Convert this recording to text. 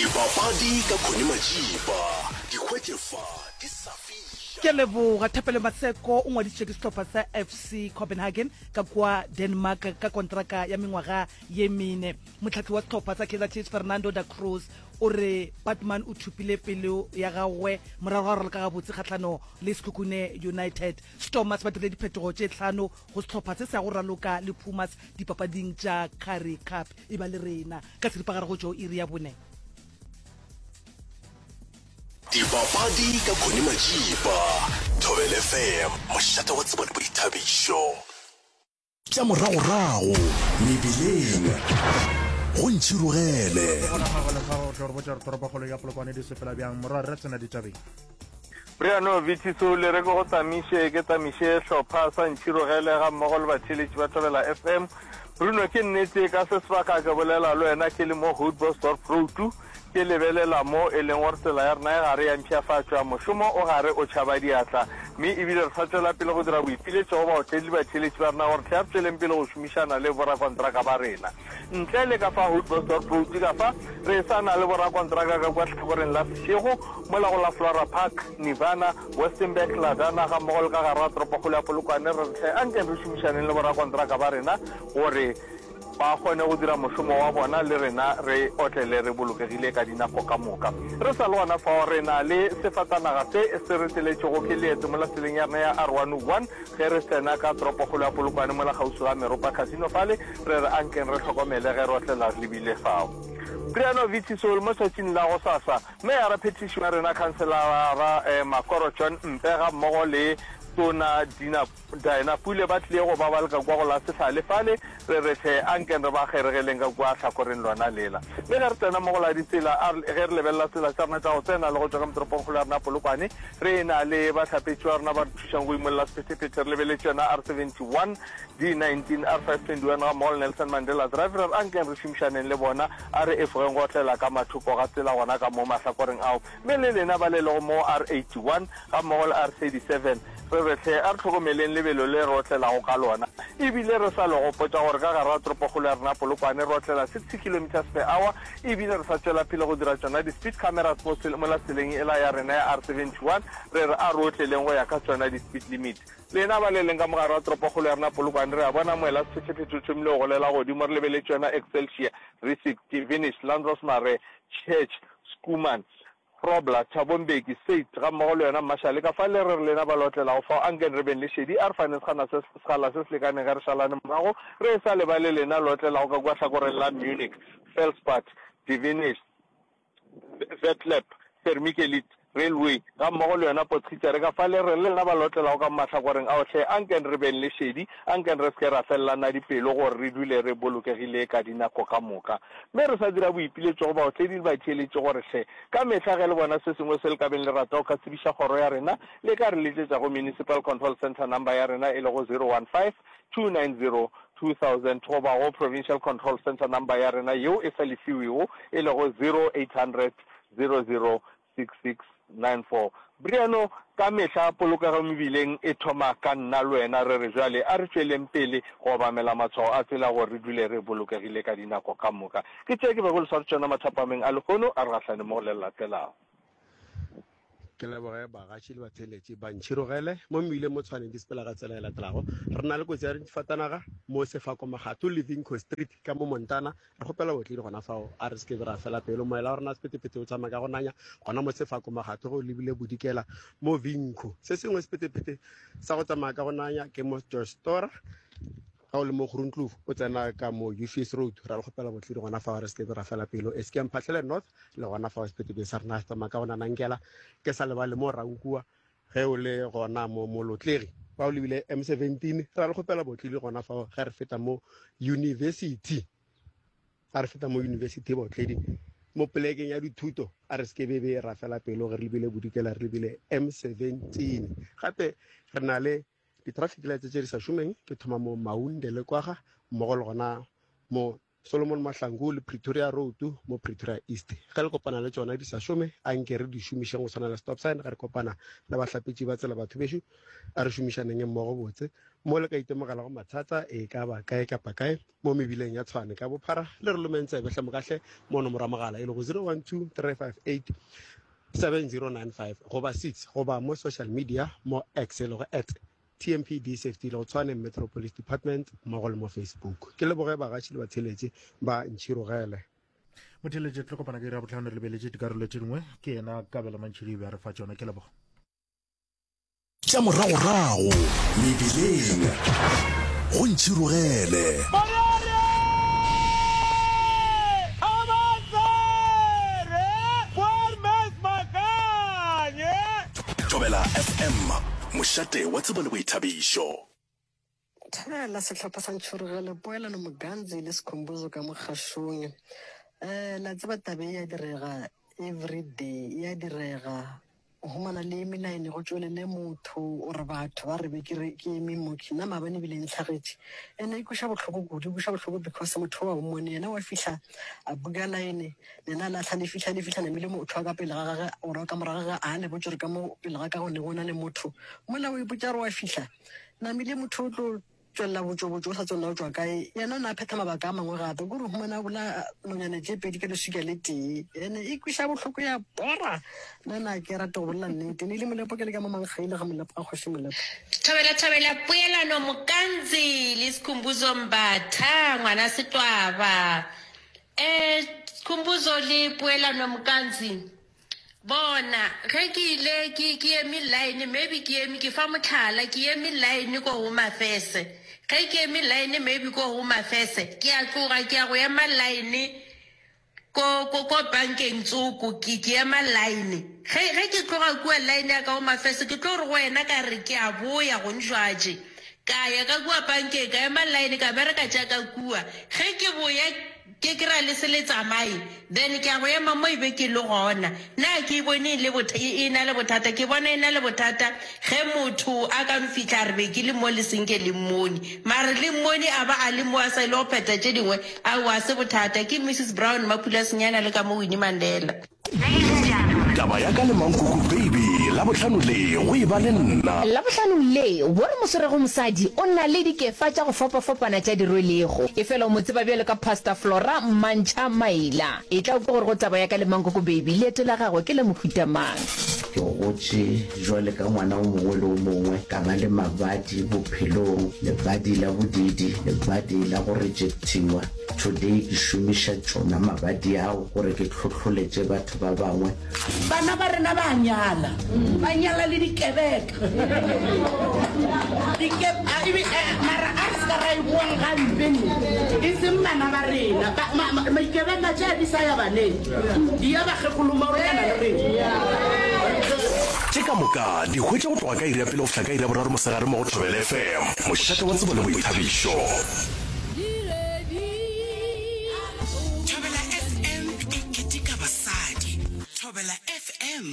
Dipapadi ka Connie Majiba, di hwetše fa di sa fiša. Ke a leboga. Thapelo Maseko o ngwadišitšwe ke sehlopha sa FC Copenhagen ka kua Denmark ka kontraka ya mengwaga ye mene. Mohlahli wa sehlopha sa Kaizer Chiefs Fernando da Cruz o re Baartman o thopile pelo ya gagwe morago ga go raloka gabotse kgahlano le Sekhukhune United. Stormers ba dirile diphetogo tše hlano go sehlopha se se ya go raloka le Pumas dipapading tša Currie Cup. E ba le rena ka seripagare go tšo iri ya bone. Dipapadi ka Connie Majiba, Thobela FM, mošate wa tsebo le boithabišo. Tša moragorago mebileng go ntšhirogele. Gona magole fa o tlo re botša gore toropokgolo ya Polokwane di sepela bjang morwa re tsena ditabeng. Briano Vitiso le re ke go tamiše ke tamiše hlopha sa ntšhirogele ga mmogo le batheeletši ba Thobela FM. Bruno ke nnete ka se sebaka ke bolela le wena ke le mo Houtbosdorp Road Ke lebelela mo e leng gore tsela ya rena e gare ya mpshafatšwa, mošomo o gare o tšhaba diatla, mme e bile re sa tšwela pele go dira boipiletšo go baotledi le batheeletši ba rena gore hle a re tšweleng pele go šomišana le borakontraka ba rena. Ntle le ka fa Houtbosdorp Road ka fa, re sa na le borakontraka ka kua hlakoreng la Seshego, mola go la Flora Park, Nirvana, Westenburg, Ladana gammogo le ka gare ga toropokgolo ya Polokwane. Re re hle ankeng re šomišaneng le borakontraka ba rena gore ba kgone go dira mošomo wa bona le rena re otlele re bolokegile ka dinako ka moka. Re sa le gona fao, re na le sefatanaga se se re tseletšego ke leeto mola tseleng ya rena ya R101 ge re tsena ka toropokgolo ya Polokwane mola kgauswi ga Meropa Casino fale, re re ankeng re hlokomele ge re otlela re lebile fao. Priano Vitisol mo tšatšing la gosasa, Meyara Phethiši wa rena Khanselara Makoro John Mpe gammogo le Tona Dina Diana Pule ba tlile go ba ba le ka kua go la sehlale fale, re re hle, ankeng re ba kgeregeleng ka kua hlakoreng lona lela. Mme ge re tsena mo go la ditsela, a re, ge re lebelela tsela tša rena tša go tsena le go tšwa ka motoropongkgolo ya rena Polokwane, re e-na le bahlapetši ba rena ba re thušang go imolla sephethephethe, re lebeletše yona R71, D19, R521 gammogo le Nelson Mandela Drive, re re ankeng re šomišaneng le bona, a re efogeng go otlela ka mathoko ga tsela gona ka mo mahlakoreng ao. Mme le lena ba le lego mo R81 gammogo le R37, re re hle, a re hlokomeleng lebelo le re otlelago ka lona. E bile re sa le gopotša gore ka gare ga toropokgolo ya rena Polokwane re otlela 60 kilometres per hour, e bile re sa tšwela pele go dira tšona di-speed cameras mo mola tseleng ela ya rena ya R71, re re a re otleleng go ya ka tšona di-speed limit. Lena ba le leng ka mo gare ga toropokgolo ya rena Polokwane, re a bona moela sephethephethe o thomile go golela godimo, re lebeletše yona Excelsior, Rissik, Divinish, Landros Marais, Church, Schoeman, Grobler, Thabo Mbeki, Seit, gammogo le yona Mashale. Ka fa le re re lena ba lotlelago fao, anken re beng le šedi, a re faneng sekgana se, sekgala se se lekaneng ge re šalane morago, re e sa lebale lena lotlelago ka kua hlakoreng la Munich, Felspad, Divinish, Vetlep, Vermikelid, Railway, gammogo le yona Potgieter. Ka fa le re le lena ba lotlelago ka mo mahlakoreng ao hle, anken re beng le šedi, anken re se ke ra felelana dipelo gore re dule re bolokegile ka dinako ka moka. Mme re sa dira boipiletšo go baotledi le batheeletši gore hle, ka mehla ge le bona se sengwe se le ka beng le rata go ka tsebiša kgoro ya rena, le ka re letšetša go Municipal Control Centre number ya rena e lego 015 290 2000 goba go Provincial Control Centre number ya rena yeo e sa lefiwego e lego 0800 00 6694. Briano, Ka mehla polokego mebileng e thoma ka nna le wena. Re re bjale a re tšweleng pele go obamela matshwao a tsela gore re dule re bolokegile ka dinako ka moka. Ke tše ke bego le sware tšona mathapameng a lehono. A re gahlane mo go le le latelago. Ke leboge bagaši le batheeletši ba ntšhirogele mo mmileng mo Tshwane di sepela ka tsela e latelago. Re na le kotsi ya difatanaga mo Sefako Magatho le Vinco Street ka mo Montana. Re kgopela botledi gona fao, a re se ke be ra fela pelo. Moela wa rena sephethephethe o tsamaya ka go nanya gona mo Sefako Magatho ge o lebile bodikela mo Vinco. Se sengwe sephethephethe sa go tsamaya ka go nanya ke mo George Stora ga o le mo Groenkloof o tsena ka mo Ufis Road. Ra le kgopela botledi gona fao, a re se ke be ra fela pelo. Esike Mphahlele North le gona fao sephethephethe sa rena se tsamaya ka go nanankela. Ke sa lebale mo Rankua Ge o le gona mo Molotlegi, fa o lebile M17, ra le kgopela botlile gona fao ge re feta mo university. A re feta mo university botledi mo polekeng ya dithuto, a re seke bebe ra fela pelo ge re lebile bodikela re lebile M17. Gape re na le di-traffic lights tše di sa šomeng, ke thoma mo Maunde le Kwaga mmogo le gona mo. Solomon Mahlangu le Pretoria Road mo Pretoria East. Ge le kopana le tšona di sa šome, anke re di šomišeng go swana le stop sign ge re kopana le bahlapetši ba tsela. Batho bešo, a re šomišaneng mmogo botse. Mo le ka itemogelago mathata e ka ba kae kapa kae mo mebileng ya Tshwane ka bophara, le re lomeng tsebe hle mokahle mo nomoro ya mogala e lego 012 358 7095 goba 6 goba mo social media mo X e lego at TMPD Safety le go Tshwane Metro Police Department mmogo le mo Facebook. Ke leboge bagaši le batheeletši ba Ntšhirogele. Motheeletši, tlo kopana ka iri ya bohlano re lebeletše dikarolo tše dingwe. Ke yena Kabelo Mantšhidi be a re fa tšona. Ke leboga. Tša moragorago mebileng go Ntšhirogele. Thobela FM, mošate wa tsebo le boithabišo. Thobela sehlopha sa Ntšhorogelo, Poelano Moganzi le Skhumbuzo ka mo kgašong. Eh, la tseba taba e ya direga everyday, e ya direga. O humana le eme line go tšwelele motho or batho ba re be ke re ke eme mo ke nna maabane ebile e ntlhagetše. Ene e kweša bohloko kudu, e kweša bohloko because motho wa o mmone yena wa fihla a buka line Lena la hla le fihla, le fihla namile motho wa ka pele ga gage, or wa ka morago ga gage, a le botše gore ka mo pele ga ka go ne go na le motho. Mola o ipotša gore wa fihla, namile motho o tlo tšwelela botšobotšo, o sa tsebe na o tšwa kae. Yena o ne a phetha mabaka a mangwe gape, kore o humana a bolaya nonyana tše pedi ka leswika le tee. Ene e kweša bohloko ya bora. Nna na ke rate go bolela nnete. Ne e le Molepo ke le ka mo Mankgaile ga Molepo ga Kgoši Molepo. Thobela thobela poelano Mokanzi le Skhumbuzo Mbatha ngwana Setwaba. Eh, Khumbuzo le Poelano Mkanzi, bona, ge ke ile ke, ke eme line, maybe ke eme, ke fa mohlala, ke eme line ko Home Affairs. Ge ke eme line maybe ko Home Affairs, ke a tloga ke ya go ema line ko, ko, ko bankeng tsoko, ke, ke ema line. Ge, ge ke tloga kua line ya ka Home Affairs, ke tlo re go wena ka re ke a boya gonjwatše. Ka ya ka kua pankeng, ka ema line, ka bereka tša ka kua. Ge ke boya, ke kry-a le se le tsamaye, then ke ya go ema mo e be ke le gona. Na ke e bone e le botha, e, e na le bothata? Ke bona e na le bothata ge motho a ka no fihla a re be ke le mo le senke le mmone. Mare le mmone a ba a le mo a sa ile go phetha tše dingwe, aowa, ga se bothata. Ke Missus Brown, Mapula Senyana le ka mo Winnie Mandela. Taba ya ka le Mankoko Baby, Labohlano le go e ba le nna. Labohlano le, wo re mo swerego mosadi o na le dikefa tša go fapafapana tša di rwelego. Efela o mo tseba bjalo ka Pastor Flora Mantšha Maila. Etla o kwe gore go taba ya ka le Mankoko Baby leeto la gagwe ke la mohuta mang. Ke gotše jwale ka ngwana o mongwe le o mongwe, ka ba le mabadi bophelong, lebadi la bodiidi, lebadi la go rejectiwa. Today ke šomiša tšona mabadi ao gore ke hlohloletše batho ba bangwe. Bana ba rena ba a nyala, ba nyala le dikebeka. Dike, a, ebe, eh, mara a re se ka ra e buang gampe ne, e seng bana ba rena. Ba, ma, ma, maikebenga tše di sa ya baneng, di ya bakgekolo maoronyana le rena. Tše ka moka di hwetše go tloga ka iri ya pele go fihla ka iri ya boraro mosegare mo go Thobela FM, mošate wa tsebo le boithabišo. Thobela FM e keteka basadi. Thobela FM.